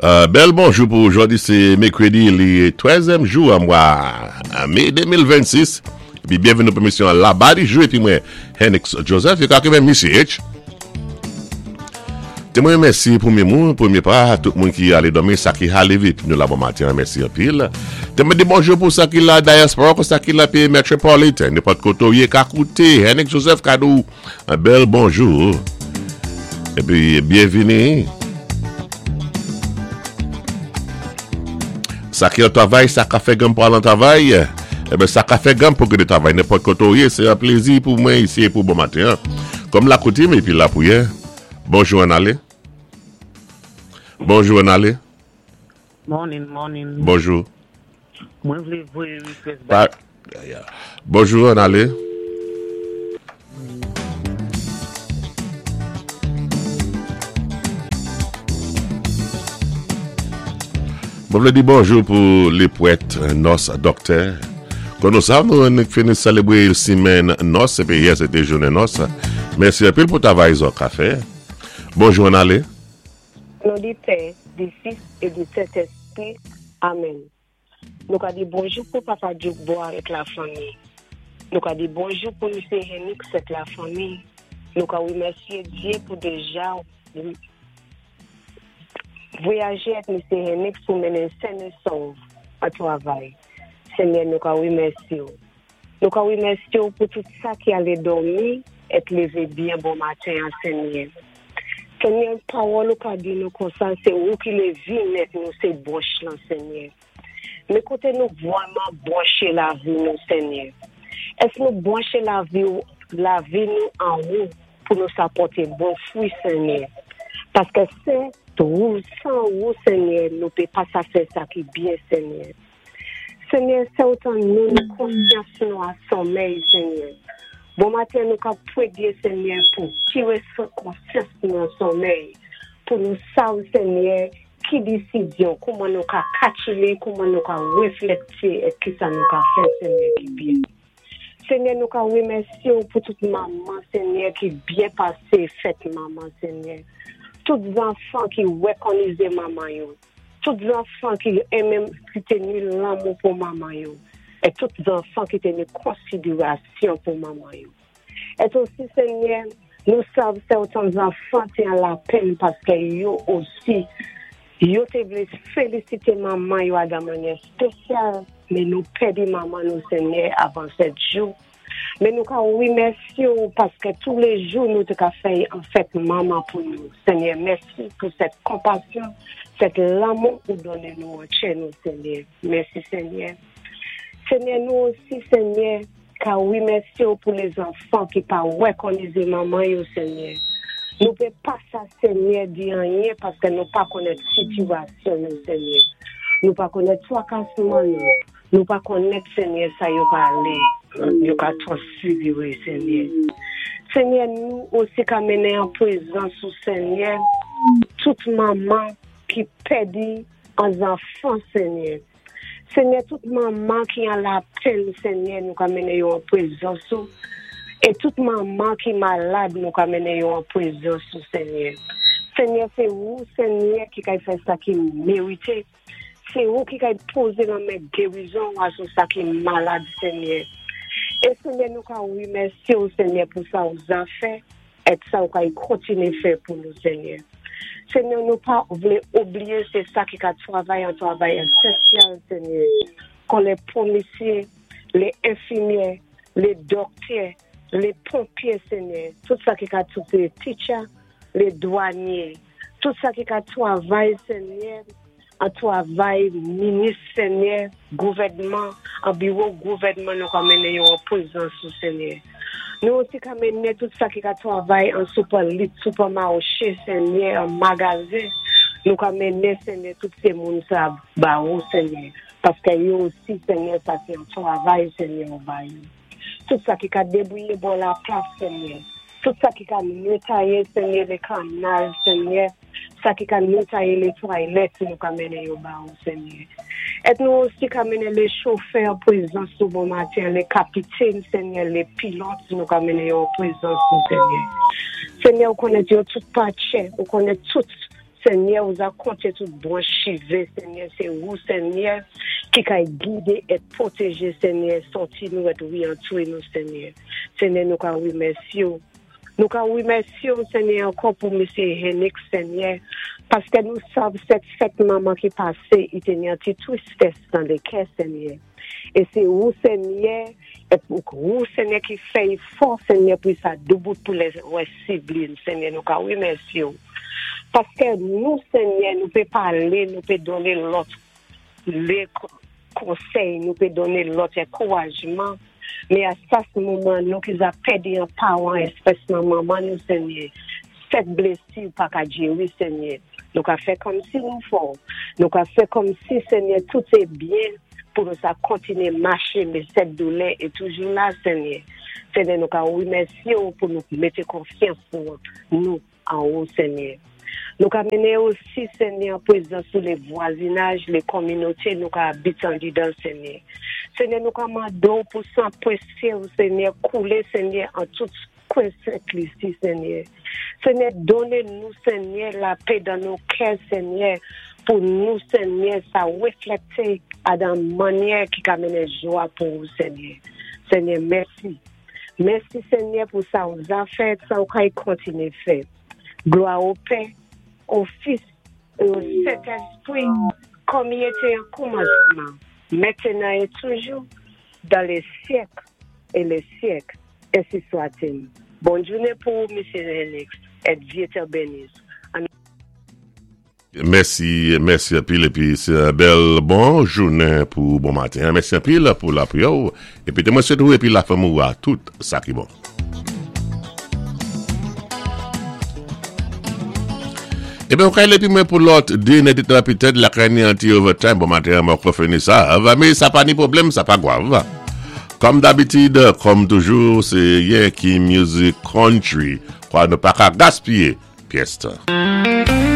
Bèl bonjou pou ou jodi se mekredi li trèzyèm jou an mwa me 2026 epi byenvini pou emisyon an laba di jou epi mwen Henix Joseph yo ka kenbe Misye H te mwen mèsi premye moun premye pa tout moun ki ale dòmi sa ki ha leve epi nou la bon maten an mèsi anpil te mwen di bonjou pou sa ki la diaspora pou sa ki la peyi metropolitan nenpòt kote ou ye ka koute Henix Joseph ka di w Un bel bonjour epi byenvini. Sa ki an travay, sa ka fè ganm pou al an travay, eben sa ka fè ganm pou gede travay nenpòt kote ou ye, se yon plezi pou mwen isi e pou bon maten an. Kòm la koutim epi la priyè, bonjou an ale. Bonjou an ale. Morning, morning. Bonjou. Mwen vle voye request bay. Bonjou, an ale. Mwen vle di bonjou pou le pwèt nòs dòktè. Kon nou sav nou annik fini selebre simenn nòs epi yè se te jounen nòs. Mèsi anpil pou travay zò ka fè. Bonjou an ale. O non di Pè, di Fis e di Sentespri. Amèn. Nou ka di bonjou pou Papa Djoukboa et la fanmi. Nou ka di bonjou pou Misye Henix et la fanmi. Nou ka remèsye Dye pou deja voyaje et Misye Henix pou mennen sen e sov an travay. Senyè nou ka remèsye w. Nou ka remèsye w pou tout sa ki ale dòmi et leve byen bon maten an Senyè. Senyè pawòl ou ka di nou konsa se ou ki levi nèt nou se bwonch lan Senyè. Men kote nou vwèman bwonche lavi nou Senyè? Èske nou bwonche lavi w lavi nou an ou pou nou sa pòte bon fwi Senyè? Paske se twou san ou Senyè nou pe pa sa fè sa ki byen Senyè. Senyè sè ou tann nou nou konsyans nou a somèy senyè bon maten nou kap pwedye senyè pou kire konsyans nou an somèy pou nou sav senyè ki disizyon kouman nou ka katchile kouman nou ka reflekte et kisa nou ka fè senyè ki byen senyè nou ka remèsye ou pou tout manman senyè ki byen pase fèt manman senyè tout zanfan ki wèkonize manman yo. Tout zanfan ki renmen ki te ni lanmou pou manman yo, e tout zanfan ki te ni konsiderasyon pou manman yo. Et osi, Senyè, nou sav sèten zanfan te an lapenn paske yo osi, yo te vle felisite manman yo a dan mannyè spesyal, men nou pèdi manman nou, Senyè, avan sèt jou. Men nou ka remèsye ou paske tou le jou nou te ka fè an fèt manman pou nou. Senyè, mèsi pou sèt konpasyon, sèt lanmou ou donnen nou an chè nou, Senyè. Mèsi, Senyè. Senyè, nou osi, Senyè, ka remèsye ou pou lezanfan ki pa wèkonize manman yo, Senyè. Nou pe pa sa, Senyè, di anyen paske nou pa konèt sitiyasyon yo, Senyè. Nou pa konèt twakasman yo. Nou pa konnèt senyè sa yo ka ale yo ka transfigire senyè senyè nou osi ka mennen an prezans ou senyè tout manman ki pèdi an zanfan senyè senyè tout manman ki an lapenn senyè nou ka mennen yo an prezans ou e tout manman ki malad nou ka mennen yo an prezans ou senyè senyè se ou senyè ki kay fè sa ki merite. Se ou ki kay poze lanmen gerizon ou a sou sa ki malad Senyè. E Senyè nou ka remèsye ou Senyè pou sa ou za fè et sa ou kay kontinye fè pou nou Senyè. Senyè nou pa vle oubliye se sa ki ka travay an travay esensyal Senyè kon le pomisye, le enfimyè, le doktè, le ponpye Senyè, tout sa ki ka tout le teacher, le dwanye. Tout sa ki ka twavay senyè an twavay minis senyè gouvènman an biwo gouvènman nou ka mennen yo an prezans ou senyè nou osi ka mennen tout sa ki ka twavay an soupè lit soupè mache senyè an magazen nou ka mennen senyè tout se moun sa ba ou senyè paske yo osi senyè sa se yon twavay senyè ou ba yo. Tout sa ki ka debouye bò laplas, Senyè. Tout sa ki ka netaye, Senyè, le kanal, Senyè. Sa ki ka netaye le twalèt, nou ka mennen yo ba ou, Senyè. Et nou osi ka mennen le chofè an prezans ou bon maten, le kapitèn, Senyè, le pilòt, nou ka mennen yo an prezans ou, Senyè. Senyè, ou konnen yo tout pa tchè, ou konnen tout. Senyè ou za konté tout branch chivé Senyè sé ou Senyè ki kay gidé et pwotégé Senyè sòti nou et reantré nou Senyè Senyè nou ka remèsyé w nou ka remèsyé w Senyè ankò pou mesye Hennick Senyè paskè nou sav sèt fèt manman ki pasé i té ni an ti tristès nan le kè Senyè e se ou Senyè et ou Senyè ki fè i fò Senyè pou i sa doubout pou lè wè siblin Senyè nou ka remèsye w paskè nou Senyè nou pe pale nou pe donnen lòt le konsèy nou pe donnen lòt enkourajman men a sas moman nou ki za pèdi an paran espèsman manman nou Senyè sèt blesi pa ka geri Senyè nou ka fè kòmsi nou fò nou ka fè kòmsi Senyè tout e byen pou nou sa kontinye mache men sèt doulè e toujou la Senyè Senyè nou ka remèsye w pou nou mete konfyans nou nou an ou Senyè nou ka mennen osi Senyè an prezans ou le vwazinaj le kominote nou ka abite andidan Senyè Senyè nou ka mande w pou san presye w Senyè koule Senyè an tout kwen Sent Lisi Senyè Senyè donnen nou Senyè lapè dan nou kè Senyè pou nou Senyè sa reflekte a dan mannyè ki ka mennen jwa pou ou Senyè Senyè mèsi mèsi Senyè pou sa ou za fè sa ou kay kontinye fè glwa o Pè o Fis e o Sentespri kòm i ete an koumansman mentenan e toujou dan le syèk e le syèk Ensi swatil. Bon jounen pou ou Mesye Henix et Dye te benis. An. Mèsi, mèsi anpil epi se yon bèl bon jounen pou bon maten an. Mèsi anpil pou lapriyè ou epi te mwen swete ou epi lafanmi ou a tout sa ki bon. Eben ou ka epi mwen pou lòt 2 nè de tan petèt lakay ni anti overtime bon maten an mwen ko fini sa va men sa pa ni pwoblèm sa pa gwav. Kòm dabitid, kòm toujou, se Yankee Music Country, kwa nou pa ka gaspiye pyès tan.